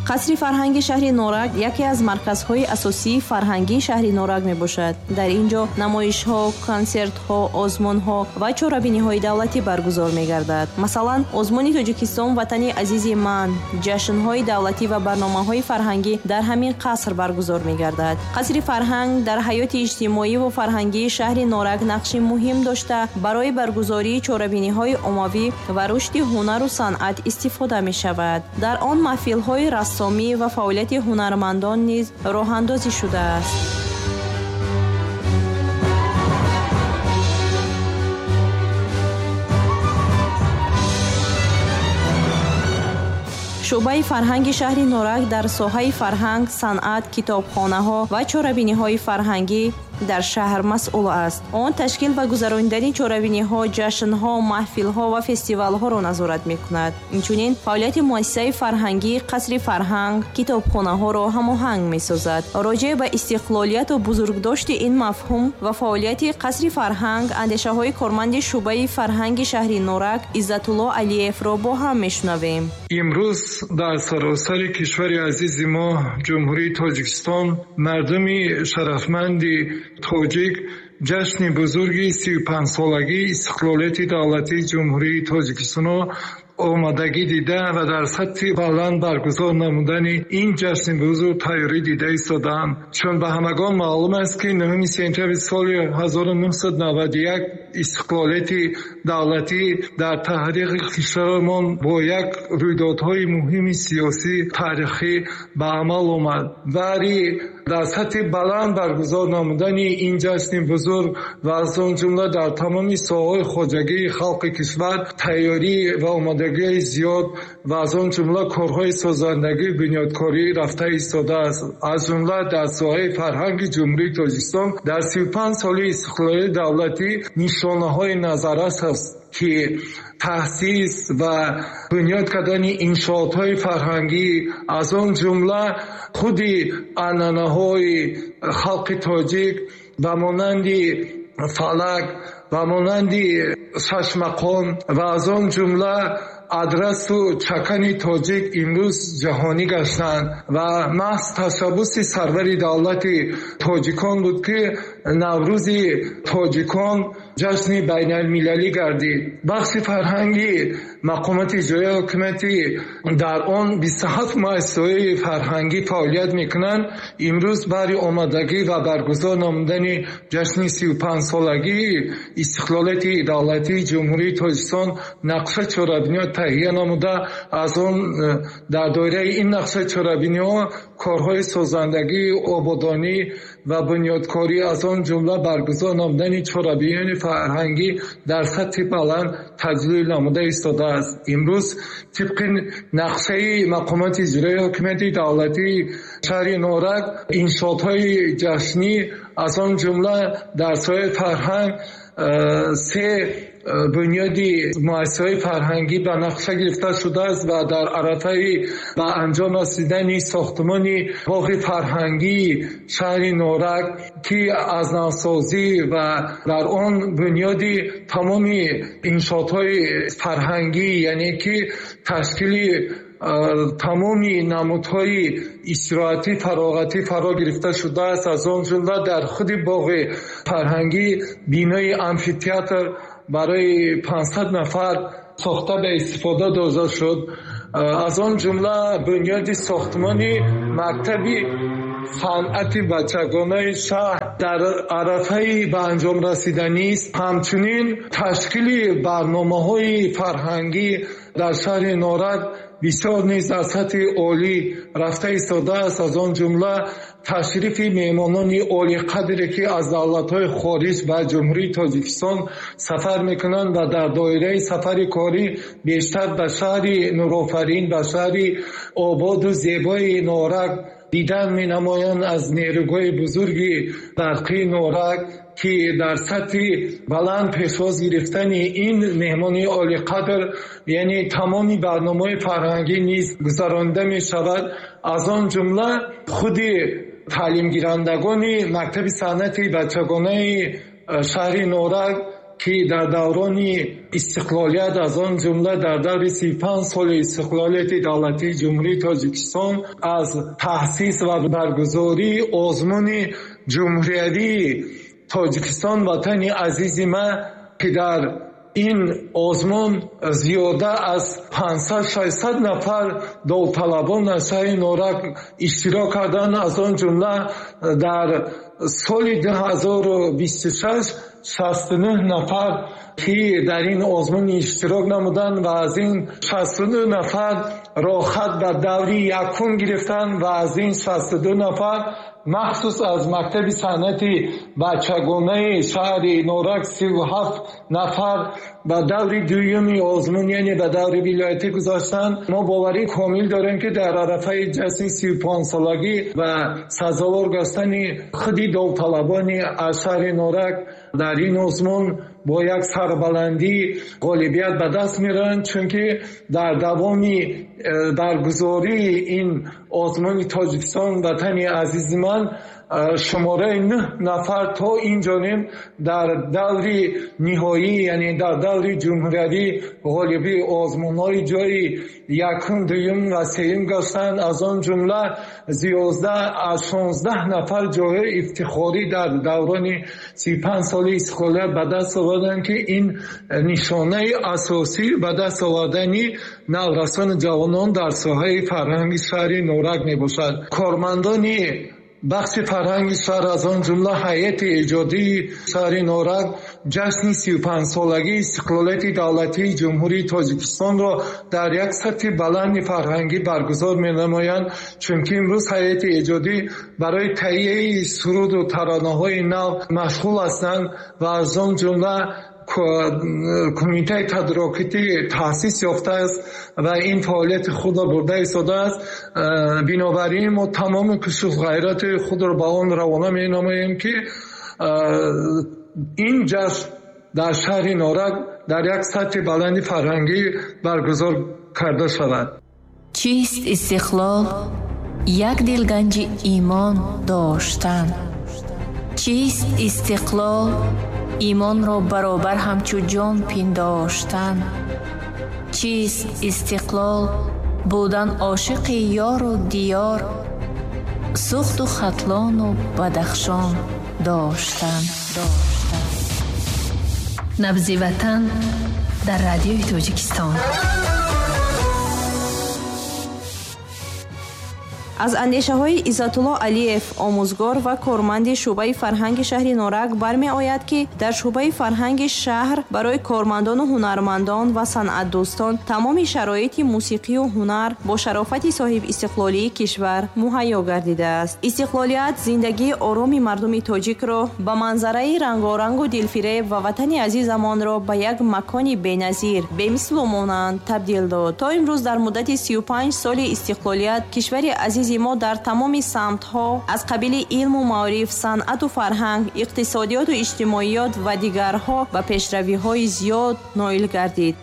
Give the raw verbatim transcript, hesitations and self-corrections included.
Қасри фарҳанги шаҳри Норак яке аз марказҳои асосии фарҳангии шаҳри Норак мебошад. Дар ин ҷо намоишҳо, консертҳо, озмунҳо ва чорабиниҳои давлатӣ баргузор мегардад. Масалан, озмуни Тоҷикистон ватани азизи ман, ҷашнҳои давлатӣ ва барномаҳои фарҳангӣ дар ҳамин қаср баргузор мегардад. Қасри фарҳанг дар ҳаёти иҷтимоӣ ва фарҳангии шаҳри Норак нақши муҳим дошта, барои баргузории чорабиниҳои оммавӣ ва рушди ҳунару санъат истифода мешавад. Дар он маҳфилҳои рассомӣ ва фаъолияти ҳунармандон низ роҳандозӣ шудааст. Шӯъбаи фарҳанги шаҳри Норак дар соҳаи фарҳанг, санъат, китобхонаҳо ва чорабиниҳои фарҳангӣ дар шаҳр масъул аст. Он ташкил ва гузаронидани чорабиниҳо, ҷашнҳо, маҳфилҳо ва фестивалҳоро назорат мекунад. Инчунин фаъолияти муассисаи фарҳангии қасри фарҳанг, китобхонаҳоро ҳамоҳанг месозад. Роҷеъ ба истиқлолияту бузургдошти ин мафҳум ва фаъолияти қасри фарҳанг, андешаҳои корманди шӯъбаи фарҳанги шаҳри Норак Иззатулло Алиевро бо ҳам мешунавем. Имрӯз дар саросари кишвари азизи мо, Ҷумҳурии Тоҷикистон, мардуми шарафманди тоҷик ҷашни бузурги сию панҷсолагии истиқлолияти давлатии Ҷумҳурии Тоҷикистонро омодагӣ дида ва дар сатҳи баланд баргузор намудани ин ҷашни бузург тайёрӣ дида истодаанд. Чун ба ҳамагон маълум аст, ки нӯҳуми сентябри соли ҳазору нӯҳсаду наваду як истиқлолияти давлатӣ дар таърихи кишварамон бо як рӯйдодҳои муҳими сиёсӣ таърихӣ ба амал омад. Вале дар сатҳи баланд баргузор намудани ин ҷашни бузург ва аз он ҷумла дар тамоми соҳаҳои хоҷагии халқи кишвар тайёрӣ ва омодагии зиёд ва аз он ҷумла корҳои созандагӣ бунёдкорӣ рафта истодааст. Аз ҷумла дар соҳаи фарҳанги Ҷумҳурии Тоҷикистон дар сию панҷ соли истиқлолияти давлатӣ нишонаҳои назаррас аст, ки таъсис ва бунёд кардани иншоотҳои фарҳангӣ, аз он ҷумла худи анъанаҳои халқи тоҷик ба монанди фалак, ба монанди шашмақом ва аз он ҷумла адрасу чакани тоҷик имрӯз ҷаҳонӣ гаштанд ва маҳз ташаббуси сарвари давлати тоҷикон буд, ки Наврӯзи тоҷикон ҷашни байналмилалӣ гардид. Бахши фарҳанги мақомоти иҷроияи ҳокимияти дар он бисту ҳафт муассисаҳои фарҳангӣ фаъолият мекунанд. Имрӯз барои омодагӣ ва баргузор намудани ҷашни сию панҷсолагии истиқлолияти давлатии Ҷумҳурии Тоҷикистон нақшаи чорабиниҳо таҳия намуда, аз он дар доираи ин нақшаи чорабиниҳо корҳои созандагӣ, ободонӣ ва бунёдкорӣ, аз он ҷумла баргузор намудани чорабиниҳои фарҳангӣ дар сатҳи баланд таҷлил намуда истодааст. Имрӯз тибқи нақшаи мақомоти иҷроияи ҳокимияти давлатии шаҳри Норак иншоотҳои ҷашнӣ, аз он ҷумла дар соҳаи фарҳанг се бунёди муассисаҳои фарҳангӣ ба нақша гирифта шудааст ва дар арафаи ба анҷом расидани сохтмони боғи фарҳангии шаҳри Норак, ки аз навсозӣ ва дар он бунёди тамоми иншоотҳои фарҳангӣ, яъне ки ташкили тамоми намудҳои истироҳатӣ, фароғатӣ фаро гирифта шудааст. Аз он ҷумла дар худи боғи фарҳангӣ бинои амфитеатр барои панҷсад нафар сохта ба истифода дода шуд. Аз он ҷумла бунёди сохтмони мактаби санъати бачагонаи шаҳр дар арафаи ба анҷом расиданист. Ҳамчунин ташкили барномаҳои фарҳангӣ дар шаҳри Норак бисёр низ дар сатҳи олӣ рафта истодааст. Аз он ҷумла ташрифи меҳмонони олиқадре, ки аз давлатҳои хориҷ ба Ҷумҳурии Тоҷикистон сафар мекунанд ва дар доираи сафари корӣ бештар ба шаҳри Нурофарин, ба шаҳри ободу зебои Норак дидан менамоянд. Аз нерӯгоҳи бузурги барқии Норак, ки дар сатҳи баланд пешвоз гирифтани ин меҳмони олиқадр, яъне тамоми барномаҳои фарҳангӣ низ гузаронида мешавад. Аз он ҷумла худи таълимгирандагони мактаби санъати бачагонаи шаҳри Норак ки дар даврони истиқлолият, аз он ҷумла дар даври сию панҷ соли истиқлолияти давлатии Ҷумҳурии Тоҷикистон аз таъсис ва баргузории озмуни ҷумҳуриявии Тоҷикистон ватани азизи ман, ки дар ин озмун зиёда аз панҷсад шашсад нафар довталабон аз шаҳри Норак иштирок карданд. Аз он ҷумла дар соли ду ҳазору бисту шаш шасту нӯҳ нафар ки дар ин озмун иштирок намуданд ва аз ин шасту нӯҳ нафар роҳхат ба даври якум гирифтанд ва аз ин шасту ду нафар махсус аз мактаби санъати бачагонаи шаҳри Норак сию ҳафт нафар ба даври дуюми озмун, яъне ба даври вилоятӣ гузаштанд. Мо боварӣ комил дорем, ки дар арафаи ҷашни сию панҷсолагӣ ва сазовор гаштани худи довталабони аз шаҳри Норак дар ин озмун бо як сарбаландӣ ғолибият ба даст меоранд, чунки дар давоми баргузории ин озмуни Тоҷикистон ватани азизи ман шумораи нӯҳ нафар то ин ҷониб дар даври ниҳоӣ, яъне дар даври ҷумҳуриявӣ ғолиби озмунҳои ҷойи якум, дуюм ва сеюм гаштанд. Аз он ҷумла зиёда аз шонздаҳ нафар ҷойҳои ифтихорӣ дар даврони сию панҷ соли истиқлолият ба даст оварданд, ки ин нишонаи асосӣ ба даст овардани наврасону ҷавонон дар соҳаи фарҳанги шаҳри Норак мебошад. Кормандони бахши фарҳанги шаҳр, аз он ҷумла ҳайати эҷодии шаҳри Норак, ҷашни сию панҷсолагии истиқлолияти давлатии Ҷумҳурии Тоҷикистонро дар як сатҳи баланди фарҳангӣ баргузор менамоянд, чунки имрӯз ҳайати эҷодӣ барои таҳияи суруду таронаҳои нав машғул ҳастанд ва аз он ҷумла кумитаи тадорукотӣ таъсис ёфтааст ва ин фаъолияти худро бурда истодааст. Бинобар ин мо тамоми кӯшишу ғайрати худро ба он равона менамоем, ки ин ҷашн дар шаҳри Норак дар як сатҳи баланди фарҳангӣ баргузор карда шавад. Чист истиқлол? Як дилганҷи имон доштан. Чист истиқлол? Имонро баробар ҳамчу ҷон пиндоштан. Чист истиқлол? Будан ошиқи ёру диёр, сухту хатлону Бадахшон доштан. Набзи ватан дар радиои Тоҷикистон. Аз андешаҳои Иззатулло Алиев, омӯзгор ва корманди шӯъбаи фарҳанги шаҳри Норак бармеояд, ки дар шӯъбаи фарҳанги шаҳр барои кормандону ҳунармандон ва санъатдӯстон тамоми шароити мусиқию ҳунар бо шарофати соҳибистиқлолии кишвар муҳайё гардидааст. Истиқлолият зиндагии ороми мардуми тоҷикро ба манзараи рангорангу дилфиреб ва ватани азизамонро ба як макони беназир, бемислу монанд табдил дод. То имрӯз дар муддати сию панҷ соли истиқлолият кишвари азизи мо дар тамоми самтҳо аз қабили илму маориф, санъату фарҳанг, иқтисодиёту иҷтимоиёт ва дигарҳо ба пешравиҳои зиёд ноил гардид.